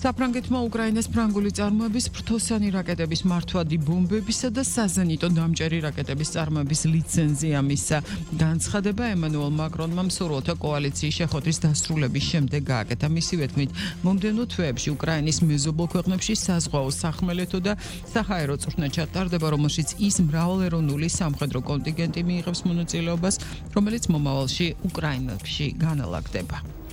საფრანგეთმა უკრაინას ფრანგული წარმოების ფრთოსანი რაკეტების მართვადი ბომბებისა და საზენიტო დამჭერი რაკეტების წარმოების ლიცენზია მისცა. განცხადება ემანუელ მაკრონმა მსურველთა კოალიციის შეხვედრის დასრულების შემდეგ გააკეთა. მისივე თქმით, მომდევნო თვეებში უკრაინის მეზობელ ქვეყნებში საზღვაო სახმელეთო და საჰაერო წვრთნა ჩატარდება, რომელშიც ის მრავალეროვნული სამხედრო კონტინგენტი მიიღებს მონაწილეობას, რომელიც მომავალში უკრაინაში განალაგდება.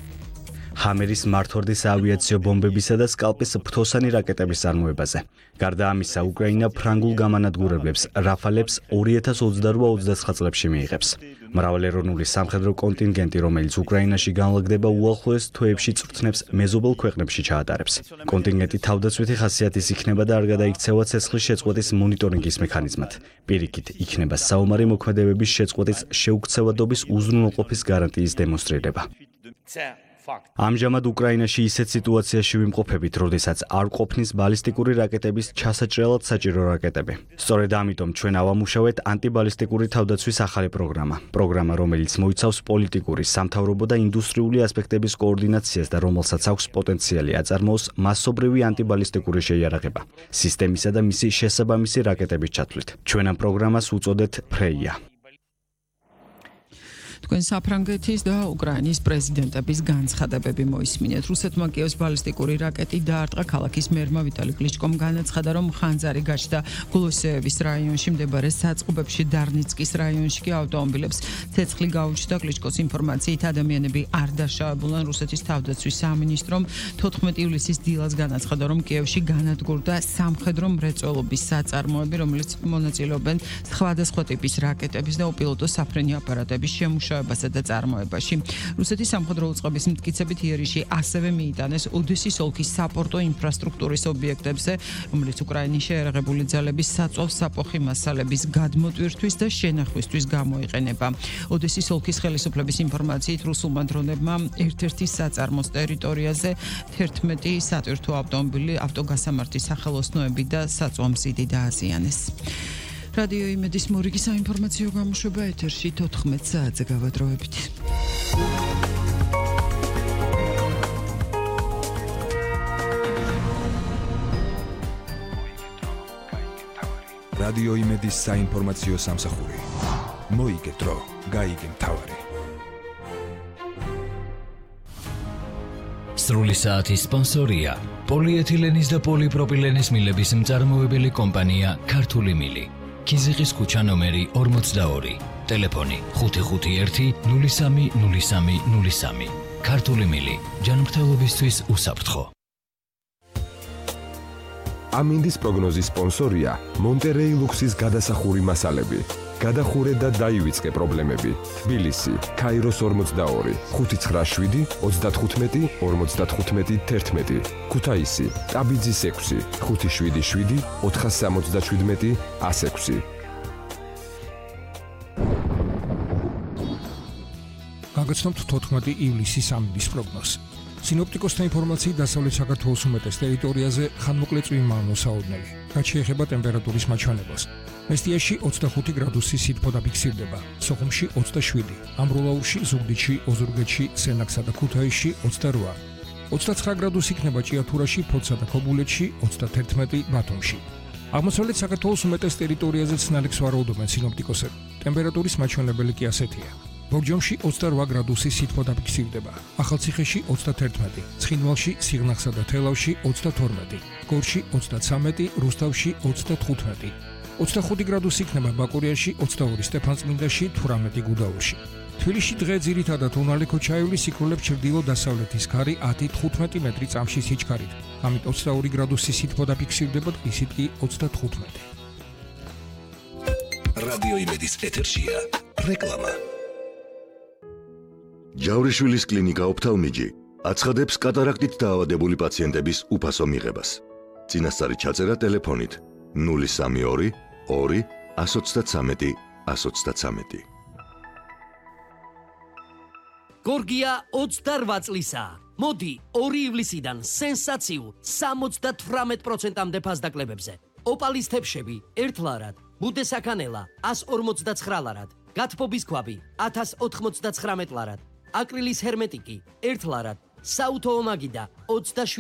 ჰამერის მართვარდის ავიაციო ბომბებისა და სკალპის ფრთოსანი რაკეტების წარმოებაზე. გარდა ამისა, უკრაინა ფრანგულ გამანადგურებლებს რაფალებს 2028-29 წლებში მიიღებს. მრავალეროვნული სამხედრო კონტინგენტი, რომელიც უკრაინაში განლაგდება, უახლოეს თვეებში წვრთნებს მეზობელ ქვეყნებში ჩაატარებს. კონტინგენტი თავდაცვითი ხასიათის იქნება და არ გადაიქცევა ცეცხლის შეწყვეტის მონიტორინგის მექანიზმად. პირიქით, იქნება საომარი მოქმედებების შეწყვეტის შეუქცევადობის უზრუნველყოფის გარანტიის დემონსტრირება. ამჟამად უკრაინაში ისეთ სიტუაციაში ვიმყოფებით, როდესაც არ ყოფნის ბალისტიკური რაკეტების ჩასაჭრელად საჭირო რაკეტები. სწორედ ამიტომ ჩვენ ავამუშავეთ ანტიბალისტიკური თავდაცვის ახალი პროგრამა, რომელიც მოიცავს პოლიტიკური, სამთავრობო და ინდუსტრიული ასპექტების კოორდინაციას და რომელსაც აქვს პოტენციალი აწარმოოს მასობრივი ანტიბალისტიკური შეიარაღება, სისტემისა და მისი შესაბამისი რაკეტების ჩათვლით. ჩვენ ამ პროგრამას უწოდეთ ფრეია. თქვენ საფრანგეთის და უკრაინის პრეზიდენტების განცხადებები მოისმინეთ. რუსეთმა კიევს ბალისტიკური რაკეტი დაარტყა. ქალაქის მერმა ვიტალი კლიჩკომ განაცხადა, რომ ხანძარი გაჩნდა გლოსეევის რაიონში მდებარე საწყობებში, დარნიცკის რაიონში კი ავტომობილებს ცეცხლი გაუჩნდა. კლიჩკოს ინფორმაციით ადამიანები არ დაშავებულან. რუსეთის თავდაცვის სამინისტრომ 14 ივლისის დილას განაცხადა, რომ კიევში განადგურდა სამხედრო მრეწველობის საწარმოები, რომელიც მონაწილეობენ სხვადასხვა ტიპის რაკეტების და უპილოტო საფრენი აპარატების შემუშავებასა და წარმოებაში. რუსეთის სამხედრო უწყების მტკიცებით იერიში ასევე მიიტანეს ოდესის ოლქის საპორტო ინფრასტრუქტურის ობიექტებზე, რომელიც უკრაინის შეიარაღებული ძალების საწვავს საფოხი მასალების გადმოტვირთვის და შენახვისთვის გამოიყენება. ოდესის ოლქის ხელისუფლების ინფორმაციით, რუსულმა დრონებმა ერთ-ერთი საწარმოს ტერიტორიაზე 11 სატვირთო ავტომობილი, ავტოგასამართის სახელოსნოები და საწვამზიდი დააზიანეს. რადიო იმედის მორიგი საინფორმაციო გამოშვება ეთერში 14 საათზე გავადროებით. რადიო იმედის საინფორმაციო სამსახური. მოიგე დრო, გაიგე მთავარი. სრული საათის სპონსორია პოლიეთილენის და პოლიპროპილენის მილების მწარმოებელი კომპანია ქართული მილი. ქიზიყის ქუჩა ნომერი 42, ტელეფონი 551 030303. ქართული მილი, ჯანმრთელობისთვის უსაფრთხო. ამინდის პროგნოზის სპონსორია მონტერეი ლუქსის გადასახური მასალები. გადახურე და დაივიწყე პრობლემები. თბილისი, ქაიროს 42, 597 35 55 11. ქუთაისი, ტაბიძის 6, 577 477 106. გაგაცნობთ 14 ივლისის ამინდის პროგნოზს. სინოპტიკოსთა ინფორმაციით, დასავლეთ საქართველოს უმეტეს ტერიტორიაზე ხანმოკლე წვიმა მოსაოდნელი. რაც შეეხება ტემპერატურის მაჩვენებას. მესტიაში 25 გრადუსი სითბო დაფიქსირდება, სოხუმში 27, ამბროლაურში, ზუგდიდში, ოზურგეთში, სენაკსა და ქუთაისში 28, 29 გრადუსი იქნება ჭიათურაში, ფოთსა და ქობულეთში, 31 ბათუმში. აღმოსავლეთ საქართველოს უმეტეს ტერიტორიაზე ცნალიქს ვარაუდობენ სინოპტიკოსები. ტემპერატურის მაჩვენებელი კი ასეთია. ბორჯომში 28 გრადუსი სითბო დაფიქსირდება, ახალციხეში 31, ცხინვალში, სიღნაღსა და თელავში 32, გორში 33, რუსთავში 35. 25 გრადუსი იქნება ბაკურიაში, 22 სტეფანწმინდაში, 18 გუდაურში. თბილისში დღე ძირითადად უნალე ქოჩაევლის სიკვდილებს ჩრდილო-დასავლეთის ქარი 10-15 მეტრი წამში სიჩქარით. ამით 22 გრადუსი სითბო დაფიქსირდება, ისიც კი 35. რადიო იმედის ეთერშია რეკლამა. ჯავრიშვილის კლინიკა ოფთალმიჯი აცხადებს კატარაქტით დაავადებული პაციენტების უფასო მიღებას. წინასწარი ჩაწერა ტელეფონით 032 2 133 133. გორგია 28 წლისაა. მოდი 2 ივლისიდან სენსაციულ 78%-მდე ფასდაკლებებზე. ოპალის თებშები 1 ლარად, ბუდესაქანელა 149 ლარად, გათბობის ქვაბი 1099 ლარად, აკრილის ჰერმეტიკი 1 ლარად, საუთო ომაგიდა 27